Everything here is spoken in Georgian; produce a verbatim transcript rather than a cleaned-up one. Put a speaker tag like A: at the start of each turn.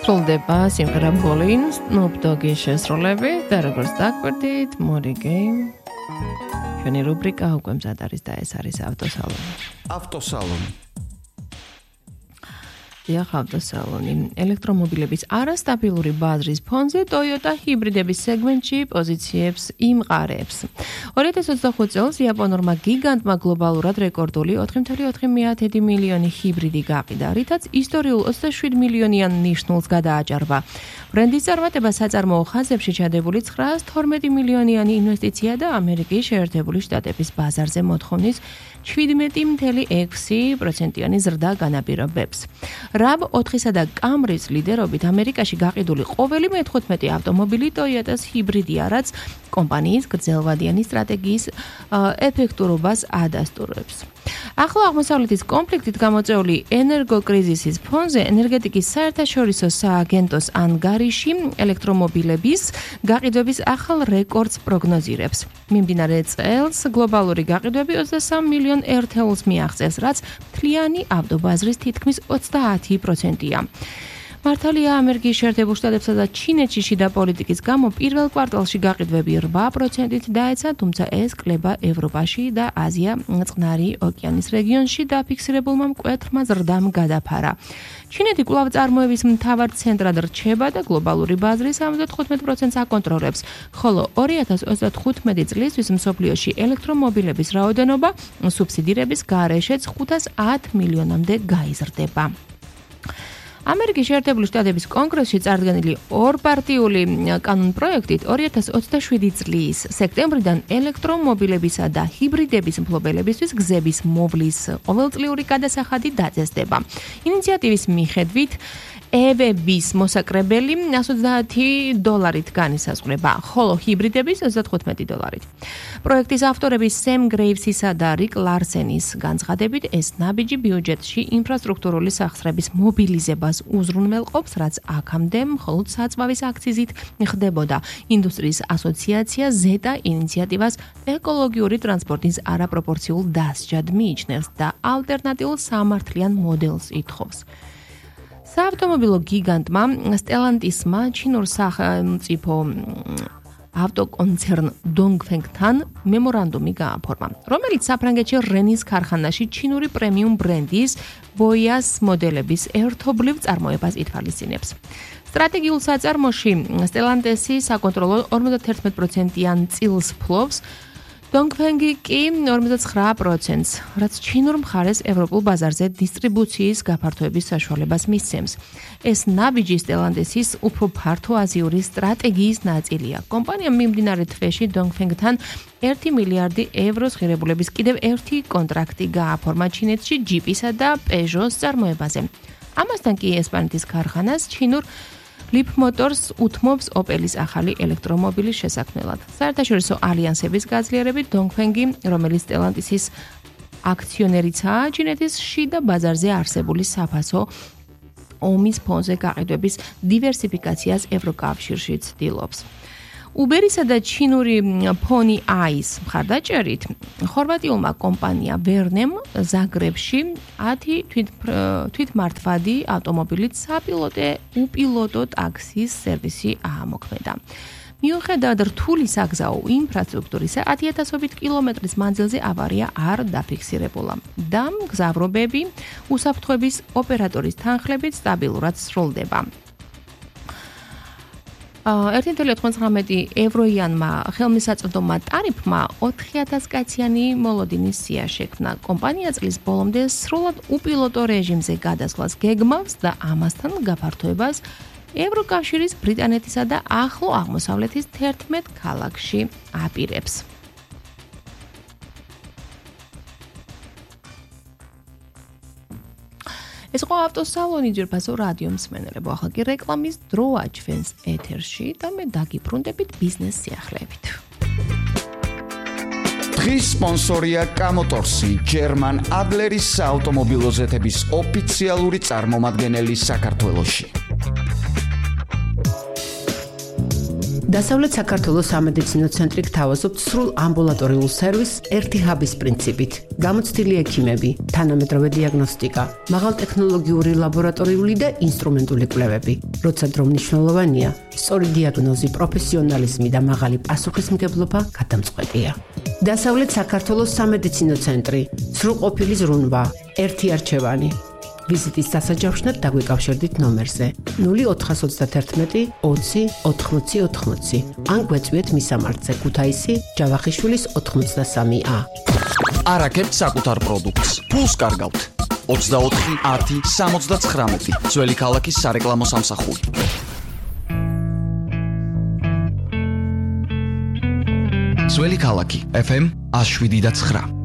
A: სრულდება სიმღერა Bolin, Snoop Dogg-ის შესრულებით და როგორც დაგვერდით, Mori Game. ჩვენი რუბრიკა უკვე მზად არის და ეს არის ავტოსალონი.
B: ავტოსალონი.
A: დიახ, ავტოსალონი. ელექტრომობილების არასტაბილური ბაზრის ფონზე Toyota ჰიბრიდების სეგმენტში პოზიციებს იმყარებს. ორი ათას ოცდახუთ წელს იაპონურმა გიგანტმა გლობალურად რეკორდული ოთხი წუთი ოთხი მილიონი ჰიბრიდი გაყიდა, რითაც ისტორიულ ოცდაშვიდ მილიონიან ნიშნულს გადააჭარბა. ბრენდის წარმატება საწარმოო ხაზებში ჩადებული ცხრაას თორმეტი მილიონიანი ინვესტიცია და ამერიკის შეერთებული შტატების ბაზარზე მოთხოვნის შვიდმეტი წუთი ექვსი პროცენტიანი ზრდა განაპირობებს. რავ ოთხისა და კამრის ლიდერობით ამერიკაში გაყიდული ყოველი მეთხუთმეტე ავტომობილი Toyota's ჰიბრიდია, რაც კომპანიის გრძელვადიანი სტრატეგიის ეფექტურობას ადასტურებს. ახლა აღმოსავლეთის კონფლიქტით გამოწვეული ენერგოკრიზისის ფონზე ენერგეტიკის საერთაშორისო სააგენტოს ანგარიში ელექტრომობილების გაყიდვების ახალ რეკორდს პროგნოზირებს. მიმდინარე წელს გლობალური გაყიდვები ოცდასამ მილიონ ერთეულს მიაღწევს, რაც მთლიანი ავტობაზრის თითქმის ოცდაათი პროცენტია. მართალია ამერიკის შეერთებულ შტატებსა და ჩინეთში შიდა პოლიტიკის გამო პირველ კვარტალში გაყიდვები რვა პროცენტით დაეცა, თუმცა ეს კლება ევროპაში და აზია წყნარი ოკეანის რეგიონში დაფიქსირებულმა მკვეთრმა ზრდამ გადაფარა. ჩინეთი კვლავ წარმოების მთავარ ცენტრად რჩება და გლობალური ბაზრის ორმოცდათხუთმეტ პროცენტს აკონტროლებს, ხოლო ორი ათას ოცდათხუთმეტი წლისთვის მსოფლიოში ელექტრომობილების რაოდენობა სუბსიდირების გარეშეც ხუთას ათ მილიონამდე გაიზრდება. ამერიკის შეერთებული შტატების კონგრესში წარდგენილი ორპარტიული კანონპროექტით ორი ათას ოცდაშვიდი წლის სექტემბრიდან ელექტრომობილებისა და ჰიბრიდების მფლობელებისთვის გზების მოვლის ყოველწლიური გადასახადი დაწესდება. ინიციატივის მიხედვით ევების მოსაკრებელი ოცდაათი დოლარით განისაზღვრება, ხოლო ჰიბრიდების ოცდათხუთმეტი დოლარით. პროექტის ავტორები სემ გრეივსისა და რიკ ლარსენის განცხადებით, ეს ნაბიჯი ბიუჯეტში ინფრასტრუქტურული სახსრების მობილიზებას უზრუნველყოფს, რაც აქამდე მხოლოდ საწვავის აქციზით ხდებოდა. ინდუსტრიის ასოციაცია ზეტა ინიციატივას ეკოლოგიური ტრანსპორტის არაპროპორციულ დასჯად მიიჩნევს და ალტერნატიულ სამართლიან მოდელს ითხოვს. საავტომობილო გიგანტმა Stellantisმა ჩინურ სახელმწიფო ავტოკონცერნ Dongfengთან მემორანდუმი გააფორმა, რომელიც საფრანგეთში რენის ქარხანაში ჩინური პრემიუმ ბრენდის Boyas მოდელების ერთობლივ წარმოებას ითვალისწინებს. სტრატეგიულ საწარმოში Stellantis საკონტროლო ორმოცდაერთმეტ პროცენტიან წილს ფლობს, Dongfeng კი ორმოცდაცხრა პროცენტს, რაც ჩინურ მხარეს ევროპულ ბაზარზე დისტრიბუციის გაფართოების საშუალებას მისცემს. ეს ნაბიჯი Stellantis-ის უფრო ფართო აზიური სტრატეგიის ნაწილია. კომპანიამ მიმდინარე თვეში Dongfengთან ერთი მილიარდი ევროს ღირებულების კიდევ ერთი კონტრაქტი გააფორმა ჩინეთში ჯიპისა და Peugeot-ის წარმოებაზე. ამასთან კი ესპანეთის ქარხანას ჩინურ Leap Motors უთმობს Opel-ის ახალი ელექტრომობილის შესაქმნელად. საერთაშორისო ალიანსების გაძლიერებით Dongfeng-ი, რომელიც Stellantis-ის აქციონერიცაა, ჩინეთის შიდა ბაზარზე არსებული საფასო ომის ფონზე გაყიდვების დივერსიფიკაციას ევროკავშირში ცდილობს. Uber-ისა და ჩინური Pony Eyes მხარდაჭერით ხორვატიულმა კომპანია Vernam ზაგრებში ათი თვითმართვადი ავტომობილით საპილოტე უპილოტო ტაქსის სერვისი აამოქმედა. მიუხედავად რთული საგზაო ინფრასტრუქტურისა, ათიათასობით კილომეტრის მანძილზე ავარია არ დაფიქსირებულა და მგზავრობები უსაფრთხოების ოპერატორის თანხლებით სტაბილურად სრულდება. ერთი წუთი ოცდათხმეტი ევროიანმა ხელმისაწვდომმა ტარიფმა ოთხი ათას კაციანი მოლოდინის სია შექმნა. კომპანია წლის ბოლომდე სრულად უპილოტო რეჟიმზე გადასვლას გეგმავს და ამასთან გაფართოებას ევროკავშირის, ბრიტანეთისა და ახლო აღმოსავლეთის თერთმეტ ქალაქში აპირებს. ეს ყო ავტოსალონი ძირფასო რადიო მსმენელებო, ახლა კი რეკლამის დროა ჩვენს ეთერში და მე დაგიბრუნდებით ბიზნეს სიახლეებით.
B: დღის სპონსორია კამოტორსი, German Adler-ის საავტომობილო ზეთების ოფიციალური წარმომადგენელი საქართველოში.
C: დასავლეთ საქართველოს სამედიცინო ცენტრი გთავაზობთ სრულ ამბულატორიულ სერვისს ერთი ჰაბის პრინციპით. გამოცდილი ექიმები, თანამედროვე დიაგნოსტიკა, მაღალტექნოლოგიური ლაბორატორიული და ინსტრუმენტული კვლევები. როცა დრო მნიშვნელოვანია, სწორი დიაგნოზი, პროფესიონალიზმი და მაღალი პასუხისმგებლობა გადამწყვეტია. დასავლეთ საქართველოს სამედიცინო ცენტრი, სრულყოფილი ზრუნვა, ერთი არჩევანი. ვიზიტის დასაჯავშნად დაგვიკავშირდით ნომერზე ნული ოთხას ოცდაათერთმეტი ოცი ოთხმოცი ოთხმოცი ან გვეწვიეთ მისამართზე ქუთაისი ჯავახიშვილის ოთხმოცდასამი ა.
B: არაკებთ საკუთარ პროდუქტს. ფულს კარგავთ. ოცდაოთხი ათი სამოცდაცხრამეტი ძველი ქალაქის სარეკლამო სამსახური. ძველი ქალაქი ეფ ემ ათს შვიდი და ცხრა.